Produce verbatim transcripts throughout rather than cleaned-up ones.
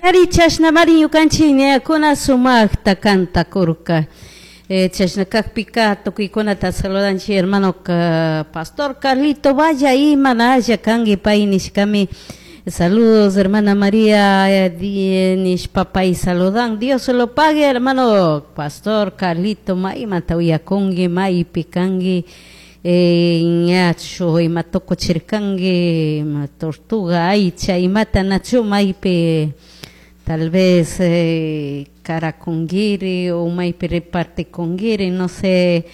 Ari chashnamari ñukanchik ñayakuna sumakta kantakurka. Eh, chashna kakpika tukuykunata saludanchik hermano pastor Carlito Valla imanalla kanki pay nishkami. Saludos, hermana María, nishpa pay saludan. Dios lo pague, hermano pastor Carlito, maymanta uyakunki, maypi kanki. Eh, ñachu ima tukuchirkanki, ima tortuga aycha imata nachu maypi tal vez eh, karakungiri o maypi repartikungiri, no sé.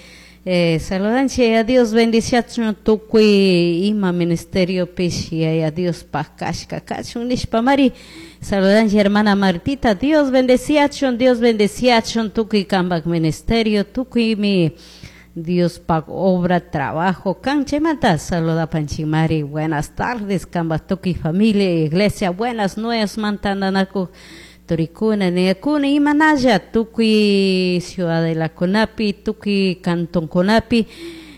Eh, saludanchik a Dios bendiciachun tukuy ima ministerio pish yaya Dios kashka kachun nishpa mari. Saludanchik, hermana Martita, Dios bendeciachun, Dios bendeciachun tukuy kambak ministerio, tukuy mi Dios pak obra, trabajo, kan chaymanta saludapanchik mari. Buenas tardes kambak tukuy familia, iglesia, buenas nuevas mantandanaku turikuna, niyakuna imanalla tukuy ciudadelakunapi, tukuy cantonkunapi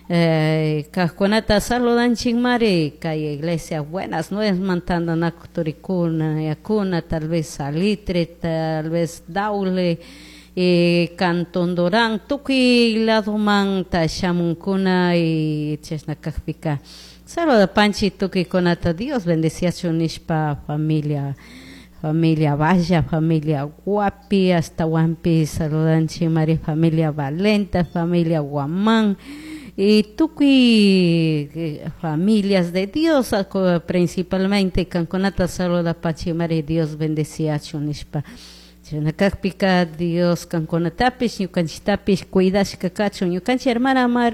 eh, kajkunata saludanchik mari. Kay iglesia buenas nuevas mantandanaku turikuna, niyakuna, tal vez Salitre, tal vez Daule, eh, Cantón Dorán, tukuy ladomanta shamunkuna y chashna kakpika saludapanchik tukuykunata. Dios bendeciachun nishpa familia familia Valla, familia Guapi, hasta Huampi, saludanchik mari, familia Valenta, familia Guamán, y tukuy eh, familias de Dios, principalmente kankunata saludapanchik mari. Dios bendeciachun nishpa. Chashna kakpika Dios kankunatapish ñukanchiktapish cuidashka kachun. Ñukanchik hermana Mar